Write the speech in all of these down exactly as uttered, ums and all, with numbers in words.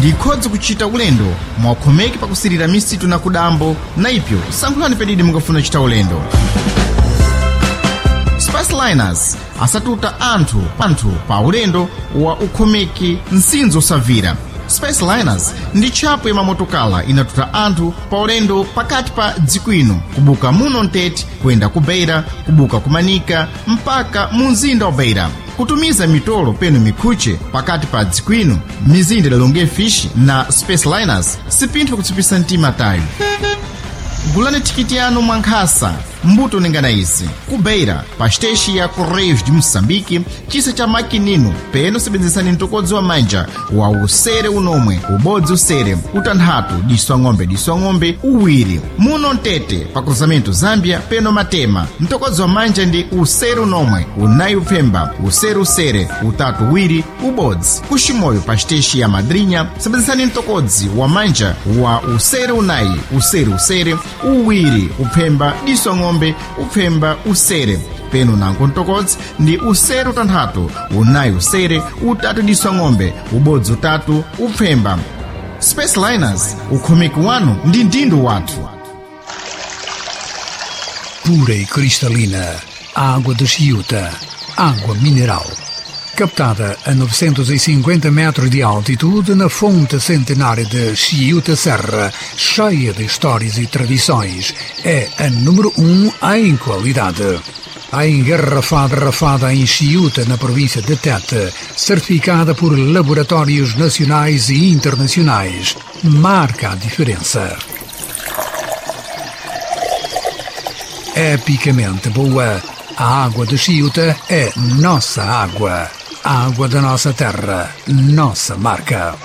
Ndikhodzi kuchita ulendo mwakhomeki pakusirira misitu na kudambo na ipyo sankhulani pedidi mungafuna kuchita ulendo. Spaceliners asatuta anthu anthu pa ulendo wa ukhomeki msinzo osavira. Spaceliners ndi tchapo ya mamotokala inatuta anthu pa ulendo pakati pa dziko ino kubuka muno mtete kuyenda ku Beira, kubuka ku Manika mpaka mu mzinda wa Beira, kutumiza mitolo peno mikhuche pakati pa dziko ino mizinda idalonge fish na Spaceliners sipinthu kutsipisa mtima tayo. Gulani thikiti yanu mwankhasa mbuto ningana izi: ku Beira pa xiteshi ya Correios de Moçambique, chisa cha makinino, peno sebenzesani mtokodzi wa manja wa usere unomwe ubodzi usere utanthatu diso ang'ombe diso ang'ombe uwiri. Muno mtete pa cruzamento Zambia peno matema, mtokodzi wa manja ndi usere unomwe unayi upfemba usere usere utatu uwiri ubodzi. Kuximoyo pa xiteshi ya Madrinha sebenzesani mtokodzi wa manja wa usere unayi usere usere uwiri upfemba diso ang'ombe upfemba usere peno nanko mtokodzi ndi usere utanthatu unayi usere utatu diso ang'ombe ubodzi utatu upfemba. Spaceliners, ukhomeki wanu ndi mdindo wathu. Pura e cristalina, água de Chiuta, água mineral. Captada a novecentos e cinquenta metros de altitude na fonte centenária de Chiuta Serra, cheia de histórias e tradições, é a número um em qualidade. A engarrafada rafada em Chiuta, na província de Tete, certificada por laboratórios nacionais e internacionais, marca a diferença. Epicamente boa, a água de Chiuta é nossa água. A água da nossa terra, nossa marca.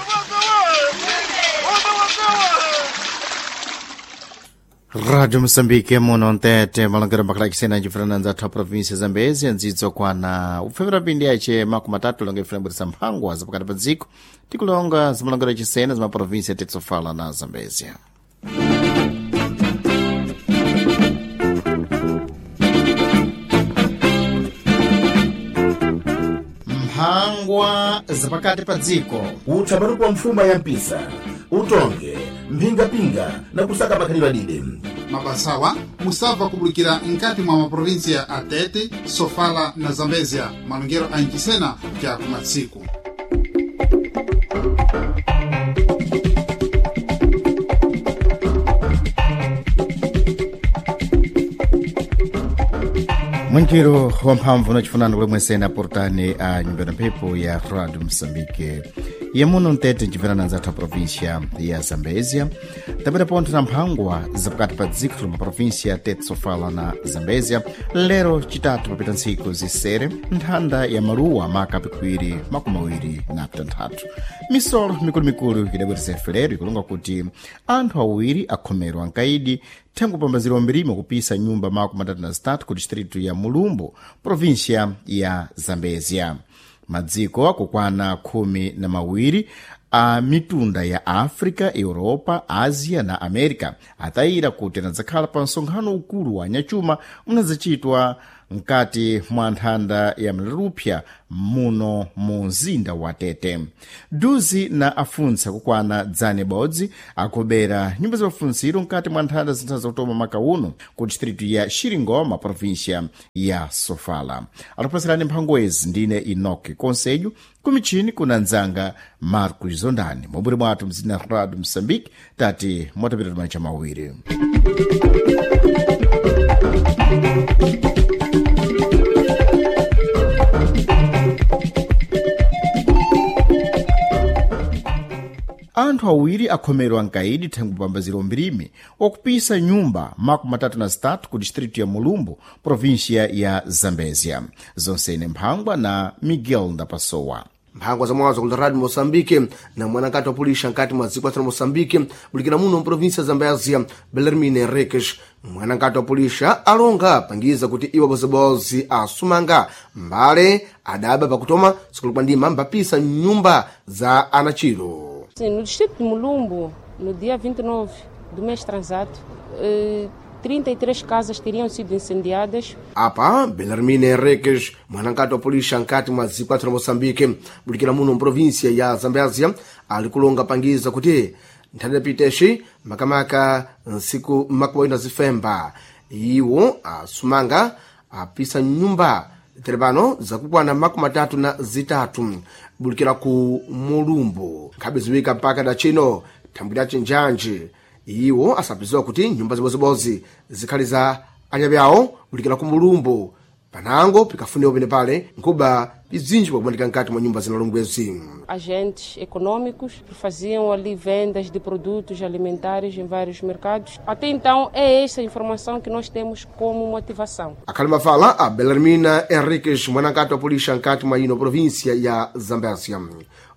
Rádio Moçambique muno mtete malongero makalakisena cifrananza athu a província Zambezi andzidzo kwana upfemera pindi yace makumi atatu longa ifuna mphangwa zapakati pa dziko tikulonga zimalongero achisena zima província tetsofala na Zambezia. Mphangwa zapakati pa dziko. Utha matupu mfuma ya mpisa utonge mphingapinga na kusaka makhalidwe adide. Mabasawa musabva kubulikira nkati mwa maprovinsia a Tete, Sofala na Zambezia, malongero a nchisena cha kumatsiku. Mwenkiro wamphamvu nachifunano kulemwesena portani a nyumba ya mphepo ya Radio Moçambique yemuno mtete ncimverana nzathu a província ya Zambezia, tapita pontho na mphangwa zapakati pa dziko loma província Tete, Sofala na Zambezia. Lero chitatu papita ntsiku zisere nthanda ya maluwa maka pikuwiri makumi awiri na pitanthatu. Misolo mikulumikulu idabwereza lero ikulonga kuti anthu awiri akhomerwa nkaidi thengo pambaziro mbirimo kupisa nyumba makumi atatu na zitatu ku distritu ya Mulumbu, província ya Zambezia. Madziko akukwana khumi na mawiri a mitunda ya África, Europa, Ásia na América atayira kuti anadzakhala pa msonkhano ukulu wa nyachuma unadzachitwa mkati mwa nthanda ya mlalupya muno mu mzinda wa Tete. Duzi na afuntsa kukwana dzane bodzi akobera nyumba za mafuntsiro mkati mwa nthanda zinthu zakutoma maka uno ku distritu ya Xiringoma, província ya Sofala. Atapasirani mphangwezi ndine Enoque Conselho, kumichini kuna nzanga Marcos Zondani mobwere mwathu mzinda Radio Moçambique tati mwatapita tumancha mawiri. Anthu awiri akhomerwa nkaidi thengo pambaziro mbirimi wakupisa nyumba makumi atatu na zitatu ku distritu ya Mulumbu, província ya Zambezia. Zonsene mphangwa na Miguel Ndapasowa. Mphangwa za mwazo kula Radio Moçambique na mwanakati wa pulisha nkati mwa dziko la Moçambique bulikira muno mprovinsia Zambezia, Belarmine Henriques. Mwanakati wa pulisha alonga pangiza kuti iwo bozibozi asumanga mbale adaba pakutoma sikulukwa ndima mbapisa nyumba za anachiro. Sim, no distrito de Mulumbu, no dia vinte e nove do mês transado, eh, trinta e três casas teriam sido incendiadas. Apa Belarmine Henriques, mwanankati wa polisi nkati mwa dziko lathu la Moçambique, bulikira muno mprovinsia ya Zambézia, ali kulonga pangiza kuti nthanda yapitexi makamaka nsiku makuwa ina zifemba iwo asumanga apisa nyumba terepano zakukwana makumi atatu na zitatu bulikira ku Mulumbu nkhabe ziwika mpaka dachino thambwi la chinjanji iwo asapiziwa kuti nyumba zibozibodzi zikhali za anyapi awo bulikira ku Mulumbu panango pikafuniwa pene pale nkuba bzinji pakumanika mkati mwa nyumba zinalongwezi. Agentes econômicos que faziam ali vendas de produtos alimentares em vários mercados. Até então é esta informação que nós temos como motivação. Akhali mafala a Belarmina Henriques, mwanankati wa polícia nkati mwa ino província ya Zambézia.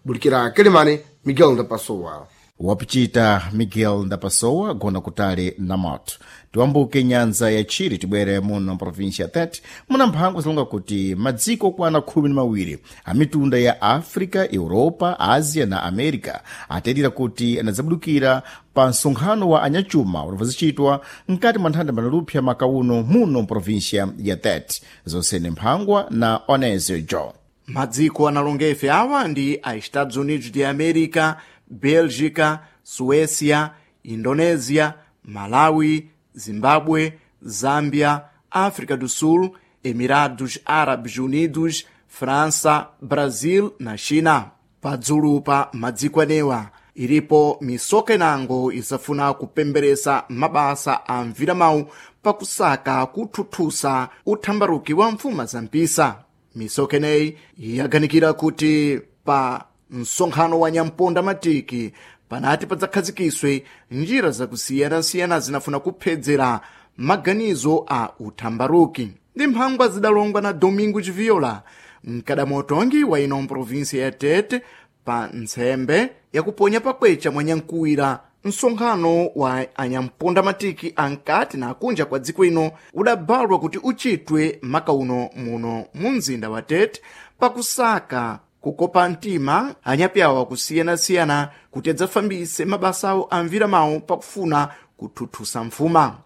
Bulikira Quelimane, Miguel Ndapassowa. Wapichita Miguel Ndapassowa gona kutali na moto. Tiwambuke nyanza ya Chile tibwere muno mprovinsia Tete muna mphango zilonga kuti madziko okwana khumi na mawiri a mitunda ya Africa, Europa, Asia na America atayitira kuti anadzabudukira pa msonkhano wa anyachuma unavazicitwa mkati mwa nthanda manalupsa makauno muno mprovinsia ya Tete. Zonsene mphangwa na Onesio Jo. Madziko analonga ife awa ndi a Estados Unidos de América, Bélgica, Suécia, Indonésia, Malawi, Zimbábue, Zâmbia, África do Sul, Emirados Árabes Unidos, França, Brasil na China. Padzulu pa madziko anewa ilipo misoka inango isafuna kupemberesa mabasa a mviramawu pakusaka kuthuthusa uthambaruki wa mfuma za mpisa. Misoka ineyi yaganikira kuti pa msonkhano wa nyamponda matiki panati padzakhazikiswe njira zakusiyanasiyana zinafuna kuphedzera maganizo a uthambaruki. Ndi mphangwa zidalongwa na Domingos Viola, mkadamotongi wa ino mprovinsia ya Tete, pa ntsembe yakuponya pakwecha mwa nyankuwira msonkhano wa anyamponda matiki ankati na akunja kwa dziko ino udabalwa kuti uchitwe makauno muno mu mzinda wa Tete pakusaka kukopa mtima anyapi awo akusiyanasiyana kuti adzafambise mabasa awo amviramawo pakufuna kuthuthusa mfuma.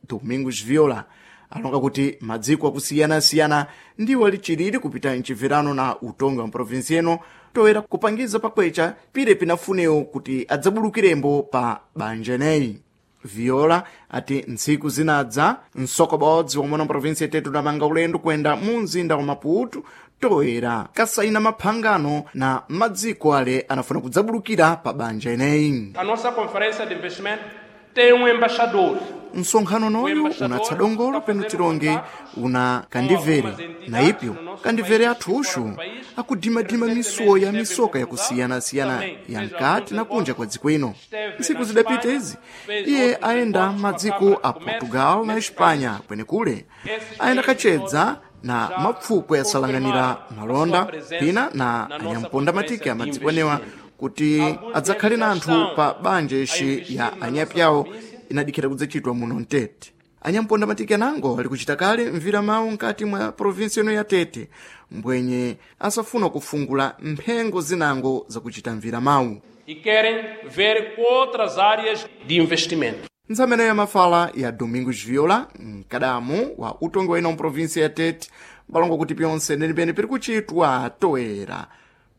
Domingos Viola alonga kuti madziko akusiyanasiyana ndiwo alichiriri kupita mchibverano na utongi wa mprovinsi ino toera kupangiza pakwecha pire pinafunewo kuti adzabulukirembo pa banja ineyi. Viola ati ntsiku zinadza msokobodzi womwe na mprovinsi ya Tete udamanga ulendo kuyenda mu mzinda wa Maputo toera kasaina maphangano na madziko ale anafuna kudzabulukira pa banja ineyi. A nossa conferência de investimento tem um embaixador. Msonkhano noyu unatsa dongolo peno tilonge una kandivere na ipyo kandivere athuxu akudimadima misuwo ya misoka yakusiyanasiyana ya nkati na kunja kwa dziko ino. Ntsiku zidapita izi iye ayenda madziko a Portugal na Espanha kwenekule ayenda kachedza na mapfukwe yasalanganira malonda pina na anyamponda matiki a madziko anewa kuti adzakhale na anthu pa banja ixi ya anyapi awo inadikhira kudzachitwa muno mtete. Anyamponda matiki anango ali kuchita kale mvira mawu nkati mwa provinsi ino ya Tete mbwenye asafuna kufungula mphengo zinango zakuchita mvira mawu E querem ver outras áreas de investimento. Ntsamene ya mafala ya Domingos Viola, mkadamu wa utongi wa ino mprovinsi ya Tete, balongo kuti pyonse nenipene piri kuchitwa toera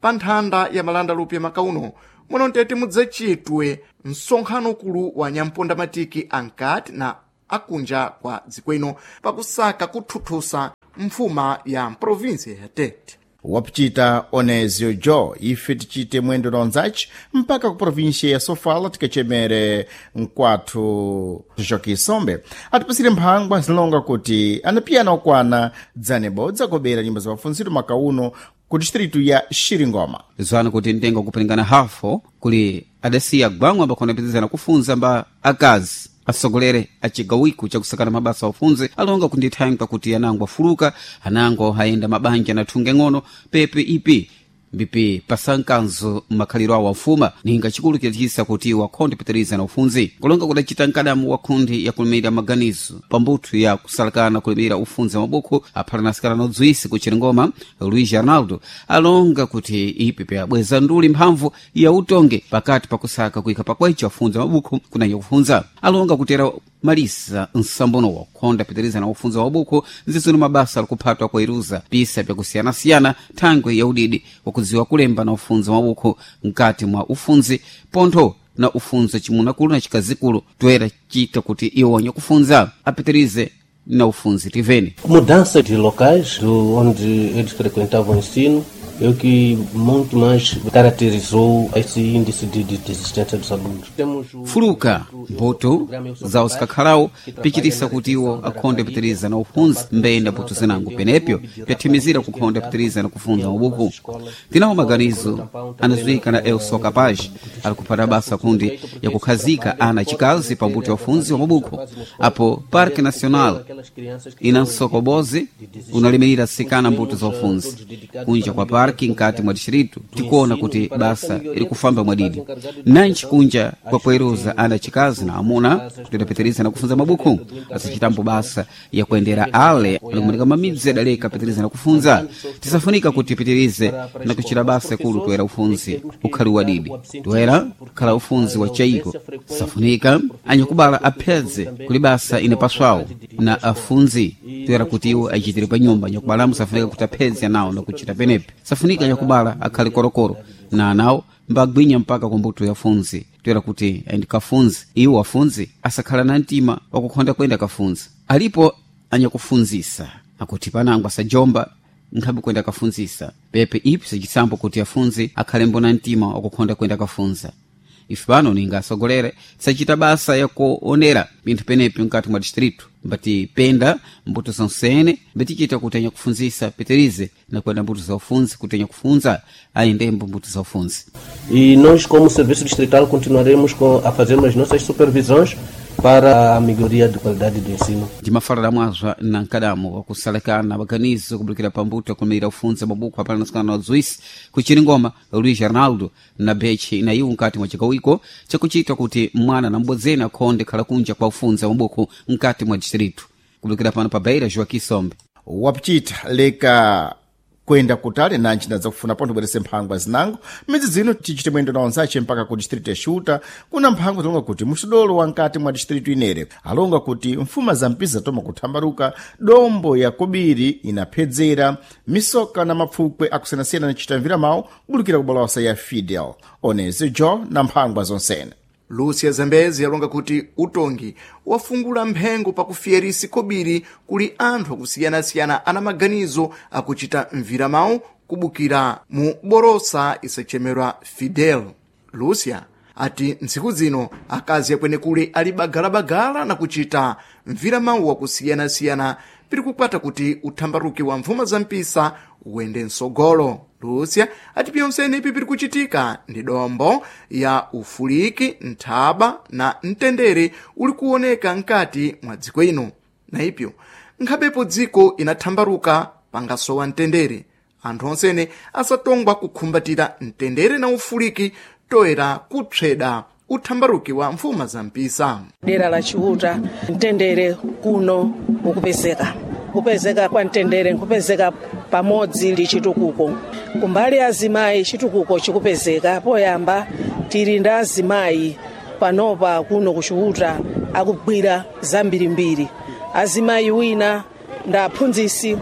pa nthanda ya malanda lupya makauno muno mtete mudzachitwe msonkhano ukulu wa nyamponda matiki ankati na akunja kwa dziko ino pakusaka kuthuthusa mfuma ya mprovinsi ya Tete. Wapichita Onesio Jo. Ife tichite mwendo na onzaci mpaka ku província ya Sofala tikachemere mkwathu Joaquim Sombe atipasire mphangwa zilonga kuti anapiyana okwana dzane bodza kobera nyumba za mafunziro makauno ku distritu ya Xiringoma. Zwana kuti ntengo kupilingana hafo kuli adasiya gwangwa ambakhona pizizana kufunza mba akazi asogolere acigawiko cakusakana mabasa aufunze alonga kundithankha kuti anango afuluka anango ayenda mabanja nathunge ng'ono pepe ipi mbipi pasankanzo makhaliro awo afuma ninga chikulu chidachisa kuti wakhonde pitiriza na ufunzi kulonga kudacita mkadamu wa khundi yakulimira maganizo pambuthu ya kusalakana kulimira ufunzi wa mabukhu aphalanasikana nodziwisi ku Chiringoma Luiz Arnaldo alonga kuti ipi pyabweza nduli mphamvu ya utonge pakati pakusaka kuika pakwecho afunzi mabukhu kunanya kufunza alonga kutera Malisa nsambono wakhonda pitiriza na ufunza wa buku nzizino mabasa alikuphatwa kuiruza pisa pyakusiyanasiyana thangwe ya udidi wakudziwa kulemba na ufunzi wa buku mkati mwa ufunzi pontho na ufunza chimunakulu na chikazikulu toera chita kuti iwo wanyakufunza apitirize na ufunzi tiveni. Mudança de locais do onde eles frequentavam o ensino é o que muito mais caracterizou esse índice de, de desistência dos alunos. Temos o Fuluka mbuto zawo zikakhalawo pichitisa kuti iwo akhonde pitiriza na ufunzi mbeyenda mbuto zinango penepyo pyathimizira kukhonda pitiriza na kufunza mabuku. Tinawo maganizo anazuika na Eu Sou Capaz ali kuphata basa kundi yakukhazika ana chikazi pa mbuto ya ufunzi wa mabuku apo Parque Nacional ina nsokobozi unalimirira sikana mbuto za ufunzi kunja kwa parki nkati mwa distrito. Tikuona kuti basa iri kufamba mwadidi nanchi kunja kwa kueruza ana chikazi na amuna kutidapitiriza na kufunza mabuku asichitambo basa ya kuendera ale alikumanika mamidzi adaleka pitiriza na kufunza. Tisafunika kuti pitirize na kuchita basa kulu toera ufunzi ukhali wadidi toera khala ufunzi wa chaiko. Safunika anyakubala aphedze kuli basa inapaswawo na afunzi toera kuti iwo achitire pa nyumba. Anyakubala safunika kuti aphedze nawo na kuchita penepe. Safunika anyakubala akhale korokoro na anawo mbagwinya mpaka ku mbuto ya funzi toera kuti aende kafunzi. Iwo afunzi asakhala na mtima wakukhonda kwenda kafunzi. Alipo anyakufunzisa akuti panango asajomba nkhabe kwenda kafunzisa pepe ipi sachisambo kuti afunzi akhale mbona mtima wakukhonda kwenda kafunza. Ife pano ninga asogolere sachita basa yakuonera pinthu penepi mkati mwa distrito mbati penda mbuto zonsene mbatichita kuti anyakufunzisa pitirize na kwenda mbuto za ufunzi kuti anyakufunza ayendembo mbuto za ufunzi. E nós, como Serviço Distrital, continuaremos com, a fazer as nossas supervisões para a melhoria de qualidade do ensino. Ndimafalira mwazwa na nkadamo wakusalekana maganizo kubulukira pambuto akumirira ufunza mabuku apana nasikana na zuisi kuchiringoma Luiz Arnaldo na bechi na iwo nkati mwa chikawiko chakuchita kuti mwana na mbodzeni akhonde khala kunja kwa ufunza mabuku nkati mwa distrito. Kubulukira pano pa Beira, Joaquim Sombe. Wapichita leka kwenda kutali nanji ndadza kufuna pontho bwerese mphangwa zinango midzi zino tichite mwendo na onzace mpaka ku distrito ya Xuta. Kuna mphangwa zilonga kuti muxidolo wa nkati mwa distrito inere alonga kuti mfuma za mpiza toma kuthambaluka dombo ya kobiri inaphedzera misoka na mapfukwe akusiyanasiyana nichitamvira mawu kubulukira kubalosa ya Fidel Onezi Jo na mphangwa zonsene. Lúcia Zambezi yalonga kuti utongi wafungula mphengo pakufiyerisi kobiri kuli anthu akusiyana-siyana ana maganizo akuchita mviramawu kubukira mu borosa isachemerwa Fidel. Lúcia ati ntsiku zino akazi akwenekule ali bagalabagala na kuchita mviramawu wakusiyana-siyana piri kukwata kuti uthambaruki wa mvuma za mpisa uwende msogolo. Lúcia ati pyonsene ipi piri kuchitika ndi dombo ya ufuliki, nthaba na mtendere uli kuoneka nkati mwa dziko ino. Na ipyo nkhabepo dziko inathambaruka pangasowa mtendere, anthu onsene asatongwa kukhumbatira mtendere na ufuliki toera kupsweda uthambaruki wa mfuma za mpisa. Dera la Chiuta mtendere kuno ukupezeka kupezeka kwa mtendere nkupezeka pamodzi ndi chitukuko. Kumbali azimayi chitukuko chikupezeka. Poyamba tili ndi azimayi panopa kuno kuchiuta akugwira zambirimbiri. Azimayi wina ndi aphunzisi,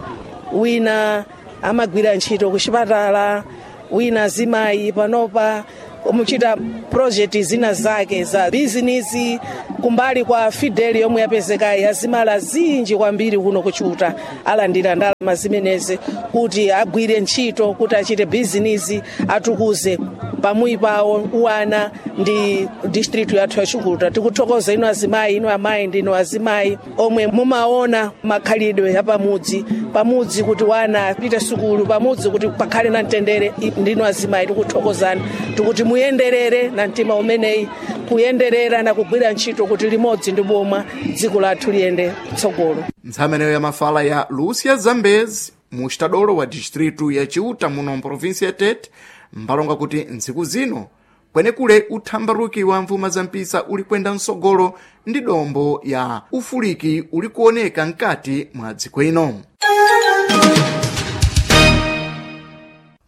wina amagwira ntchito kuchipatala, wina azimayi panopa muchita project zina zake za bizinesi. Kumbali kwa Fidel yomwe yapezekayi azimala zinji kwambiri kuno kuchuta alandira ndalama zimenezi kuti agwire ntchito kuti achite bizinesi atukuze pamui pawo uwana ndi district yathu ya Chiuta. Tikuthokoza inu azimayi, inu amayi ndinu azimayi omwe mumaona makhalidwe apamudzi pamudzi kuti wana apite sukulu pamudzi kuti pakhale na mtendere. Ndinu azimayi tikuthokozani, tikuti muyenderere na mtima umeneyi kuyenderera na kugwira ntchito kuti limodzi ndi boma dziko lathu liyende tsogolo. Ntsameneyo ya mafala ya Lúcia Zambezi mu xitadolo wa distritu ya Chiuta muno mprovinsi ya Tete mbalonga kuti ntsiku zino kwenekule uthambaruki wa mvuma za mpisa uli kwenda msogolo ndi dombo ya ufuliki uli kuoneka mkati mwa dziko ino.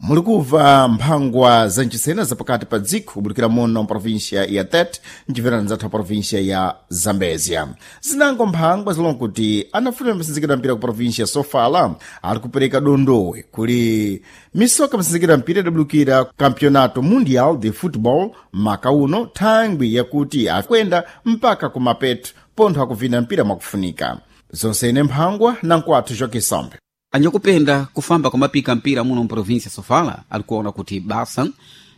Muli kubva mphangwa za nchisena zapakati pa dziko kubulikira muno mprovinsia ya Tete mcimverano zathu provinsia ya Zambezia. Zinango mphangwa zilonga kuti anafuna msinzikira mpira ku provinsia ya Sofala ali kupereka dondowe kuli misoka msinzikira mpira idabulukira Campeonato Mundial de Football maka uno, thangwi yakuti akwenda mpaka ku mapeto pontho akuvina mpira mwakufunika. Zonsene mphangwa na nkwathu Joque Sambe. Anyakupenda kufamba kwa mapika mpira muno mprovinsia Sofala alikuona kuti basa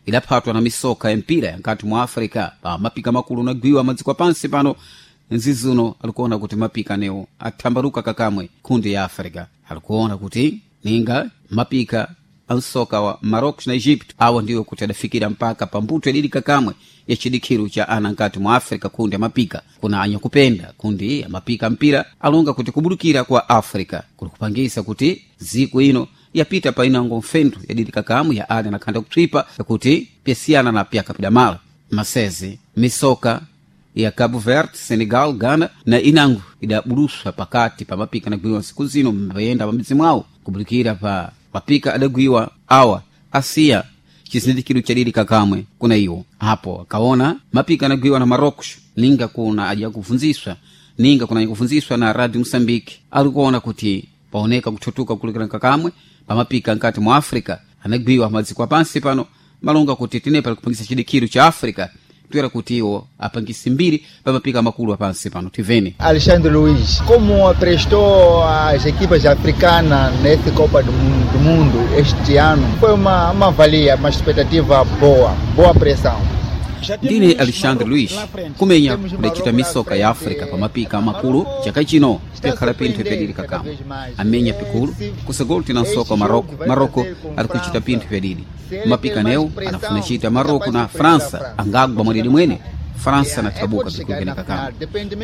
idaphatwa na misoka ya mpira nkati mwa Africa pa mapika makulu nagwiwa madziko pansi pano. Nzizuno alikuona kuti mapika anewo athambaluka kakamwe kundi ya Africa. Alikuona kuti ninga mapika ansoka wa Marocos na Egypt awa ndiwo kuti adafikira mpaka pambuto yadidi kakamwe ya chidikhiru cha ana nkati mwa Africa kundi amapika. Kuna anyakupenda kundi amapika mpira alonga kuti kubulukira kwa Africa kuli kupangisa kuti ziku ino yapita pa inango mfendu yadidi kakamwe ya ana nakhanda kutwipa yakuti pyasiyana na pyakapidamala masezi misoka ya Cabo Verde, Senegal, Ghana na inango idabuluswa pakati pa mapika nagwiwa nsiku zino mbayenda pamidzi mwawo kubulikira pa mapika adagwiwa awa asiya chizindikiro chadidi kakamwe kuna iwo apo akaona mapika anagwiwa na Marocos ninga kuna aja kufunziswa ninga kuna kufunziswa na Radio Mosambike alikuona kuti paoneka kuthutuka kulikira kakamwe pamapika nkati mwa Africa anagwiwa madziko apansi pano malonga kuti tinepa likupangisa chidikiro cha Africa toera kuti iwo apangisi mbiri pamapika makulu apansi pano tivene. Alexandre Luiz, como prestou as equipas africanas nessa Copa do Mundo, do Mundo este ano, foi uma, uma valia, uma expectativa boa, boa pressão. Ndine Alexandre Luiz kumenya kudacita misoka ya Africa pamapika makulu chaka chino pyakhala pinthu pyadidi kakamwe amenya pikulu kusagolo tina nsoka wa Maroko. Maroko ali kuchita pinthu pyadidi mapika newo anafuna chita Maroko na França angagwa mwadidi mwene França nathabuka pikulu kakamwe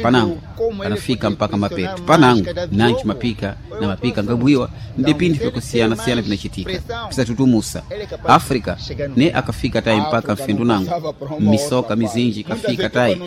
panango anafika mpaka mapeto panango nanchi mapika na mapika ngabwiwa ndi pinthu pyakusiyana-siyana pinachitika pisatutumusa Africa ne akafika tayi mpaka mfindu nango misoka mizinji kafika tayi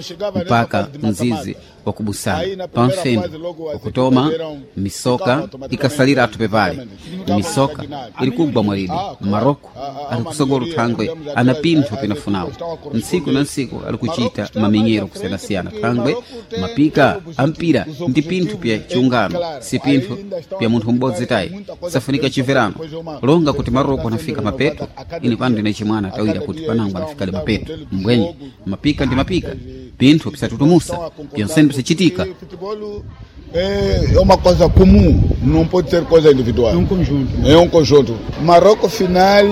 mpaka mzizi wakubusana pamfendu wakutoma misoka ikasalira atu pepale misoka ili kugwa mwalidi Maroko ali kusogolo thangwe ana pinthu pinafunawo ntsiku na ntsiku ali kuchita mamenyero kusiyanasiyana thangwe mapika ampira ndi pinthu pya chiungano si pinthu pya munthu m'bodzi tayi safunika chimverano longa kuti Maroko anafika mapeto ine pano ndine chimwana tawira kuti panango anafikale mapeto mbwenye mapika ndi mapika pinthu pisatutumusa pyonsene pisachitika. É uma coisa comum, não pode ser coisa individual. É um conjunto. É um conjunto. Marrocos final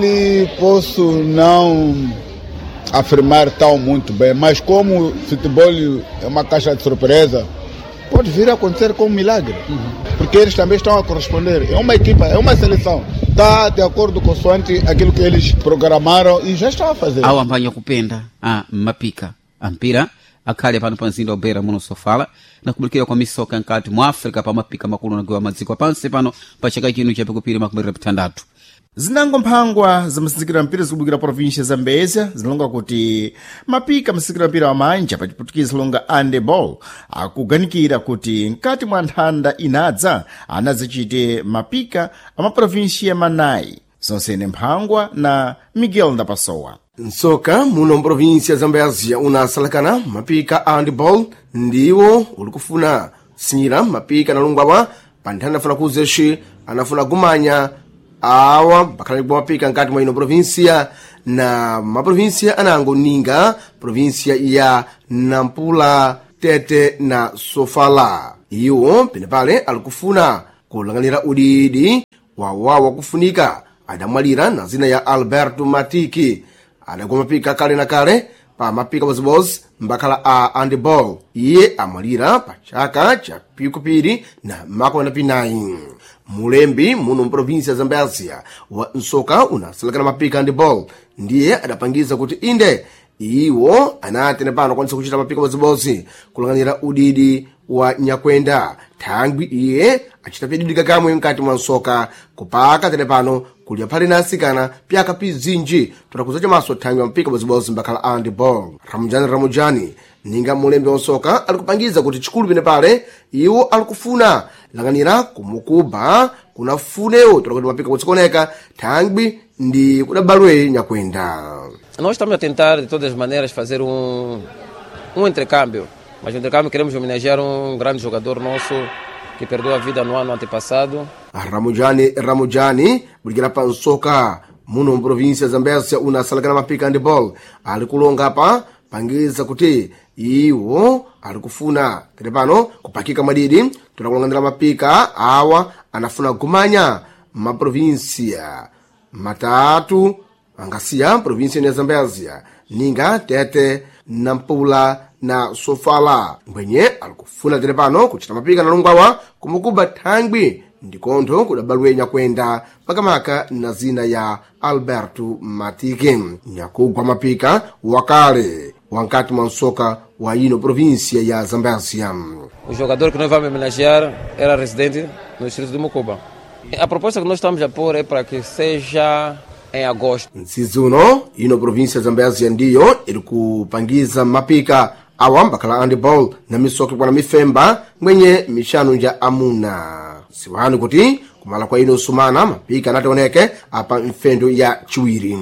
posso não afirmar tão muito bem, mas como o futebol é uma caixa de surpresa, pode vir a acontecer com um milagre. Uhum. Porque eles também estão a corresponder. É uma equipa, é uma seleção. Está de acordo consoante aquilo que eles programaram e já estão a fazer. Awo ambanya kupenda a mapika ampira akhale pano pa mzinda wa Beira muno Sofala nakubulikira kwa misoka nkati mwa Africa pa mapika makulu nagiwa madziko apansi pano pa chaka chino chapikupiri makumi pitandatu. Zinango mphangwa za mpira zikubukira província ya Zambezia zilonga kuti mapika msinzikira mpira wa manja pa chiputukizi zilonga handeball akuganikira kuti mkati mwa nthanda inadza anazichite mapika a maprovinsia manayi. Zonsene mphangwa na Miguel Ndapasowa. Nsoka muno mprovinsia ya Zambezia unasalakana mapika a handball ndiwo uli kufuna sinyira mapika analungwawa pa nthanda afuna kuzeshi anafuna gumanya awa bakhala ligwa mapika nkati mwa ino provinsia na maprovinsia anango ninga provinsia ya Nampula, Tete na Sofala. Iwo penepale alikufuna kulanganira udidi wawawa kufunika adamwalira na zina ya Alberto Matiki adagwa mapika kale na kale pa mapika bozibozi mbakhala a handball. Iye amwalira pa chaka cha pikupiri na makumi anapinayi. Mulembi muno mprovinsia ya Zambezia wa nsoka unasalakana mapika handball ndiye adapangiza kuti inde iwo anatene pano akwanisa kuchita mapika bozibozi kulanganira udidi wa nyakwenda thangwi iye achita pyadidi kakamwe mkati mwa nsoka kupaka tene pano kulya phale na asikana pyaka pizinji totakuza maso thangwi wa mpika bozibozi mbakhala handball. Ramujani Ramujani ninga mulembi wa nsoka alikupangiza kuti chikulu pene pale iwo alikufuna langanira kumukuba kunafunewo tola kuti mapika kutsikoneka thangwi ndi kudabalwe nyakwenda. Nós estamos a tentar de todas as maneiras fazer um um intercâmbio, mas no intercâmbio queremos homenagear um grande jogador nosso que perdeu a vida no ano antepassado. Ramujani Ramujani bulikira pa nsoka muno mprovinsia Zambésia unasalakana mapika handball ali kulonga pa pangiza kuti iwo ali kufuna tere pano kupakika mwadidi tulakulonganira mapika awa anafuna kumanya maprovinsia matatu angasiya provinsia ya Zambésia ninga Tete, Nampula na Sofala mbwenye alikufuna tere pano kuchita mapika na longwawa kumukuba thangwi ndikontho kudabalwe nyakwenda makamaka na zina ya Alberto Matike nyakugwa mapika wakale wankati mwa nsoka wa ino província ya Zambésia. O jogador que nós vamos homenagear era residente no distrito de Mocuba. A proposta que nós estamos a pôr é para que seja em agosto. Mtsizi uno ino província ya Zambésia ndiyo iri kupangiza mapika awa mbakhala handball na misoka kwana mifemba mwenye mixanu nja amuna siwani kuti kumala kwa ino sumana mapika anationeke apa mfendo ya chiwiri.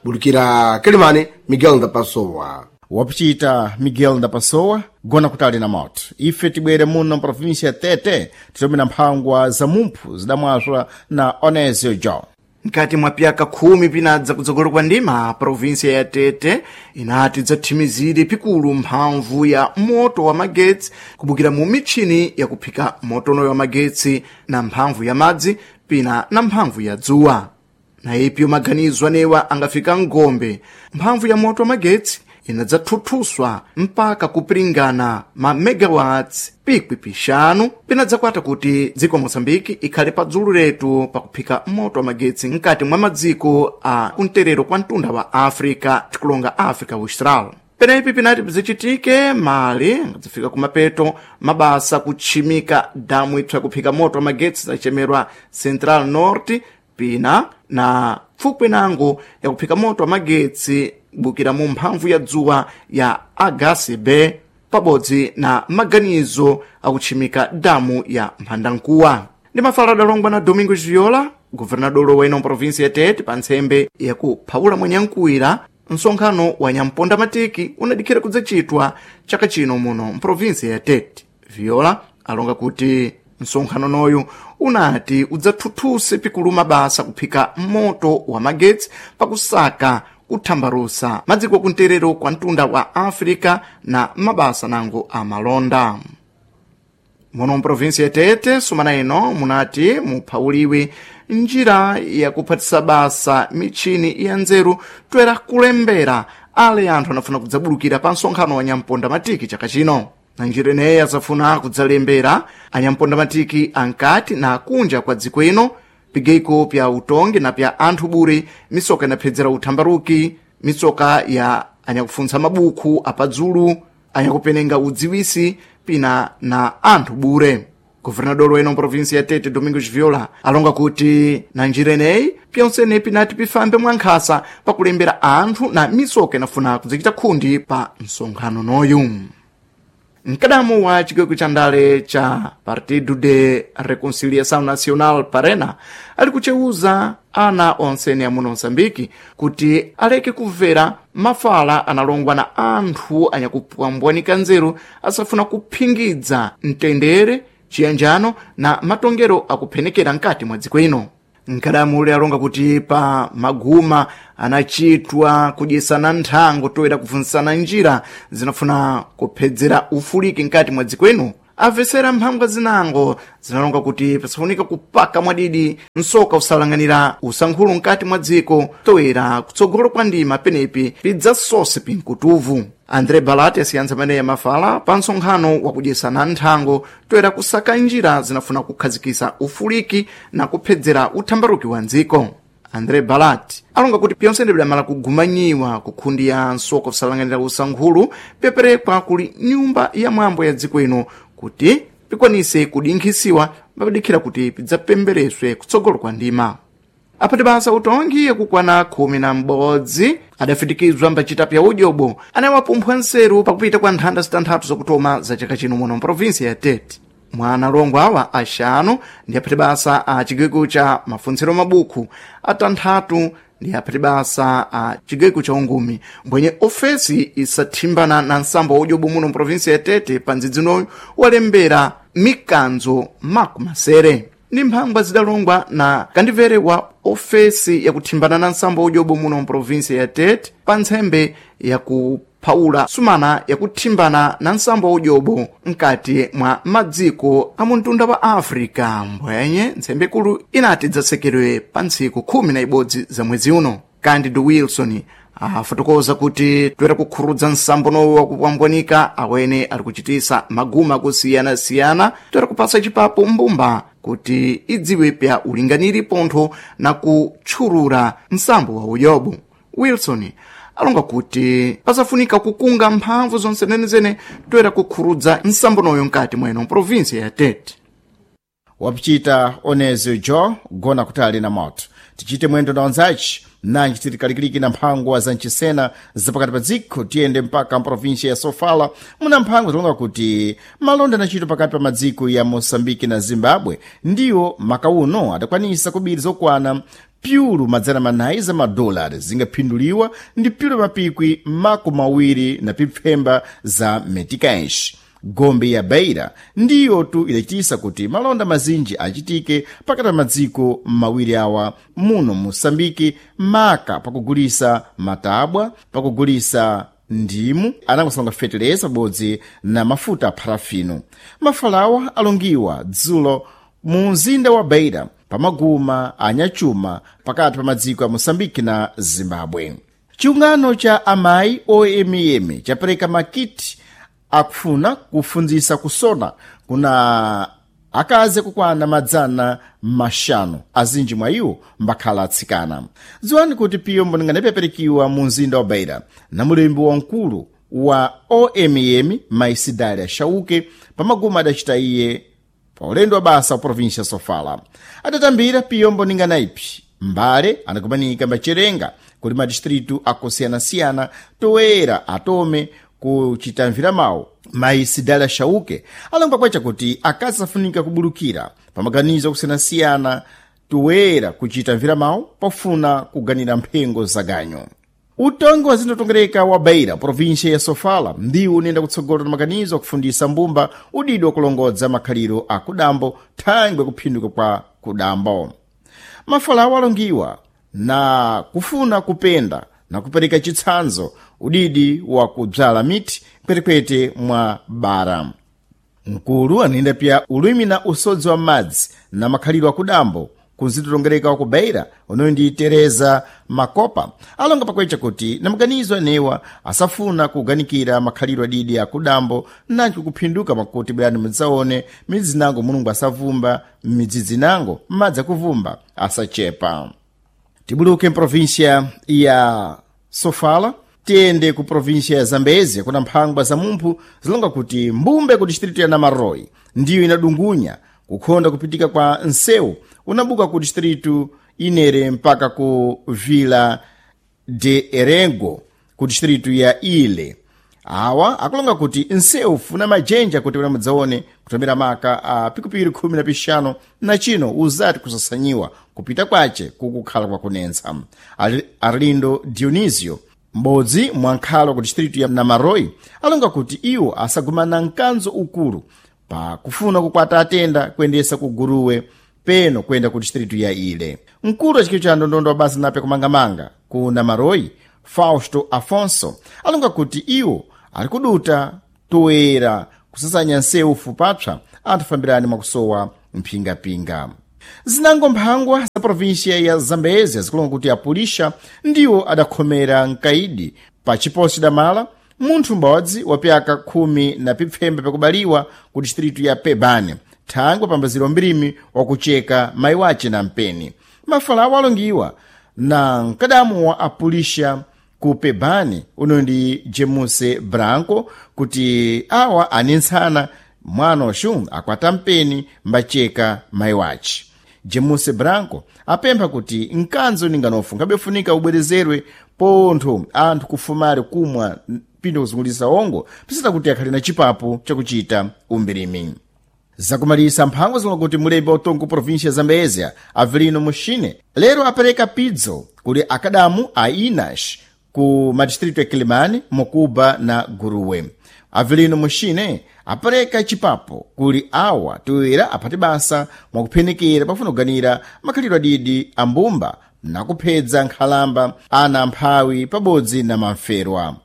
Bulikira Kilimani, Miguel Ndapasowa. Wapichita Miguel Ndapasowa gona kutali na moto ife tibwere muno mprovinsia ya Tete titomera mphangwa za mumphu zidamwaswa na Onesio John. Mkati mwa pyaka khumi pinadza kutsogolo kwa ndima, provinsia ya Tete inati dzathimizire pikulu mphamvu ya moto wa magetsi kubukira mu mitchini yakuphika motonoyo wa magetsi na mphamvu ya madzi pina na mphamvu ya dzuwa. Na ipyo maganizo anewa angafika ngombe mphamvu ya moto wa magetsi inadzathuthuswa mpaka kupiringana ma megawatts pikwi pixanu pinadzakwata kuti dziko Moçambique ikhale pa dzulu letu pakuphika moto wa magetsi mkati mwa madziko a kumterero kwa mtunda wa África tikulonga África Austral. Penepi pinati bzichitike mali angadzafika kumapeto mabasa kutchimika damu ipsa kuphika moto wa magetsi zachemerwa Central Norte pina na pfukwi nango yakuphika moto wa magetsi bukira mu mphamvu ya dzuwa ya H C B pabodzi na maganizo akutchimika damu ya mphandankuwa. Ndi mafala adalongwa na Domingos Viola, guvernadolo wa ino provinsi ya Tete, pa ntsembe yakuphawula mwenyankuwira msonkhano wa nyamponda matiki unadikhira kudzachitwa chaka chino muno mprovinsi ya Tete. Viola alonga kuti msonkhano noyu unati udzathuthuse pikulu mabasa kuphika moto wa magetsi pakusaka kuthambarusa madziko akumterero kwa mtunda wa África na mabasa nango amalonda. Muno mprovinsi ya Tete sumana ino munati muphawuliwe njira yakuphatisa basa mitchini ya nzeru toera kulembera ale anthu anafuna kudzabulukira pa msonkhano wa nyamponda matiki chaka chino. Na njira ineyi azafuna kudzalembera anyamponda matiki ankati na akunja kwa dziko ino pigeiko pya utongi na pya anthu bure, misoka inaphedzera uthambaruki, mitsoka ya anyakufuntsa mabukhu apadzulu, anyakupenenga udziwisi pina na anthu bure. Guvernador weno mprovinsi ya Tete Domingos Viola alonga kuti na njira ineyi pyonsene pinati pifambe mwankhasa pakulembera anthu na misoka inafuna kudzachita khundi pa msonkhano noyu. Mkadamu wa chigwegwe cha ndale cha Partido de Reconciliação Nacional Parena ali kuchewuza ana onsene amuno Moçambique kuti aleke kubvera mafala analongwa na anthu anyakupwambwanika nzeru asafuna kuphingidza mtendere, chiyanjano na matongero akuphenekera mkati mwa dziko ino. Mkadamu ule alonga kuti pa maguma anachitwa kudyesana nthango toera kufunsana njira zinafuna kuphedzera ufuliki mkati mwa dziko ino. Amvesera mphambwa zinango zinalonga kuti pasafunika kupaka mwadidi msoka usalang'anira usankhulu mkati mwa dziko toera kutsogolo kwa ndima penepi pidzasose pinkutuvu. André Balati asiyantsa maneya mafala pa msonkhano wakudyesana nthango toera kusaka njira zinafuna kukhazikisa ufuliki na kuphedzera uthambaruki wa ndziko. André Balati alonga kuti pyonsene bidamala kugumanyiwa kukhundi ya nsoka usalang'anira usankhulu peperekwa kuli nyumba ya mwambo ya dziko ino kuti pikwanise kudinkhisiwa mapadikhira kuti pidzapembereswe kutsogolo kwa ndima. Apati basa utongi yakukwana khumi na m'bodzi adafitikizwa mbacita pya udyobo anawapumphwa nseru pakupita kwa nthanda zitanthatu zakutoma za chaka chino muno mprovinsi ya Tete. Mwa analongo awa axanu ndi aphati basa a cigweko ca mafuntsiro mabukhu, atanthatu ndi aphati basa a cigweko ca ungumi. Mbwenye ofesi isathimbana na nsambo wa udyobo muno mprovinsi ya Tete pa ndzidzi walembera mikanzo makumasere ndi mphangwa zidalongwa na kandivere wa ofesi yakuthimbana na nsambo wa udyobo muno mprovinsi ya Tete pa ntsembe yakuphawula sumana yakuthimbana na nsambo wa udyobo mkati mwa madziko a muntunda wa Africa. Mbwenye ntsembe ikulu inati idzasekerwe pa ntsiku khumi na ibodzi za mwezi uno. Candido Wilson afotokoza kuti toera kukhurudza nsambo nowo wakupwambwanika awene ali kuchitisa maguma akusiyana-siyana, toera kupasa chipapo mbumba kuti idziwe pya ulinganiri pontho na kutchulura nsambo wa uyobo. Wilson alonga kuti pasafunika kukunga mphamvu zonse zenezene toera kukhurudza nsambo noyo mkati mweno mprovinsi ya Tete. Wapichita Onezio Jo gona kutali na moto. Tichite mwendo na onzaci nanji tiri kalikiliki na mphangwa za ncisena zapakati pa dziko, tiyende mpaka mprovinsia ya Sofala muna mphangwa zilonga kuti malonda anachitwa pakati pa madziko ya Moçambike na Zimbabwe ndiwo makauno adakwanisa kubiri zokwana pyulu madzana manayi za madolari zingaphinduliwa ndi pyulu mapikwi makumi awiri na pipfemba za meticais. Gombe ya Beira ndiyo tu idachitisa kuti malonda mazinji achitike pakati pa madziko mawiri awa muno Moçambike, maka pakugulisa matabwa, pakugulisa ndimu, anangosalonga feteleza pabodzi na mafuta a parafino. Mafalawa alongiwa dzulo mu mzinda wa Beira pamaguma anyachuma pakati pa madziko ya Moçambike na Zimbabwe. Chiungano cha amayi O M M chapereka makiti akufuna kufunzisa kusona kuna akazi kukwana madzana maxanu, azinji mwa iwo mbakhala atsikana. Dziwani kuti piyo mbonengana ipeperekiwa mu mzinda wa Beira na mulembi wamkulu wa O M M Maisidalia Shauke pamaguma adacita iye pa ulendo wa basa wa província Sofala. Adatambira piyo mboningana ipi mbale anakumanika mbacherenga kuli madistritu akosiyanasiyana toera atome kuchitamvira mawu. Mayi Sidalia Shauke alonga kwacha kuti akazi afunika kubulukira pamaganizo akusiyanasiyana toera kuchitamvira mawu pofuna kuganira mphengo zaganyo. Utongi wa zindotongereka wa Beira, província ya Sofala, ndiwo unenda kutsogola na maganizo akufundisa mbumba udidi wa kulongodza makhaliro a kudambo thangwe kuphinduka kwa kudambo. Mafalawo alongiwa na kufuna kupenda na kupereka chitsanzo udidi wa kudzala miti kwetekwete mwa bara. Mkulu anayenda pya ulimi na usodzi wa madzi na makhaliro akudambo kunzitotongereka wa ku Beira unoyo ndi Tereza Makopa alonga pakwecha kuti na maganizo anewa asafuna kuganikira makhaliro adidi akudambo nanji kuphinduka makuti bwerani mudzaone midzi nango Mulungu asavumba midzidzi nango madzi akuvumba asachepa. Tibuluke mprovinsia ya Sofala tiyende ku província ya Zambezia kuna mphangwa za mumphu zilonga kuti mbumbe ku distrito ya Namaroi ndiyo inadungunya kukhonda kupitika kwa nsewu unabuka ku distrito inere mpaka ku Vila de Erego ku distrito ya Ile. Awa akulonga kuti nsewu funa majenja kuti una mudzaone kutomera maka a pikupiri khumi na pixanu na chino uzati kusasanyiwa kupita kwace kukukhala kwakunentsa. Arlindo Dionisio m'bodzi mwa nkhalo ku distrito ya Namaroi alonga kuti iwo asagumana mkanzo ukulu pa kufuna kukwata atenda kuyendesa ku Guruwe peno kuyenda ku distrito ya Ile. Mkulu wa chikilo cha ndondondo wa basa nape kumangamanga ku Namaroi Fausto Afonso alonga kuti iwo ali kuduta toera kusasanya nsewu fupapsa anthu fambirani mwakusowa mphingapinga. Zinango mphangwa za província ya Zambezia zikulonga kuti apulisha ndiwo adakhomera mkaidi pa chiposi damala munthu m'bodzi wa pyaka khumi na pipfembe pakubaliwa ku distritu ya Pebane thangwe pambaziro mbirimi wakucheka mayi wace na mpeni. Mafalawo alongiwa na mkadamu wa apulisha ku Pebane uno ndi Jemuse Branco kuti awa anentsana mwana waxu akwata mpeni mbacheka mayi wace. Jemuse Branco apempha kuti mkanzo ninganofu nkhabefunika ubwerezerwe pontho anthu kufumale kumwa pindo kuzungulisa ongo pisita kuti akhale na chipapo chakuchita umbirimi. Zakumalisa mphango zilonga kuti mulembi wa utongo província ya Zambézia, Avelino Muxine, lero apereka pidzo kuli akadamu a INAS ku madistritu ya Quelimane, Mocuba na Guruwe. Avelino Muxine apereka chipapo kuli awa toera aphate basa mwakuphenekera pafuna kuganira makhalidwe adidi a mbumba na kuphedza nkhalamba ana amphawi pabodzi na mamferwa.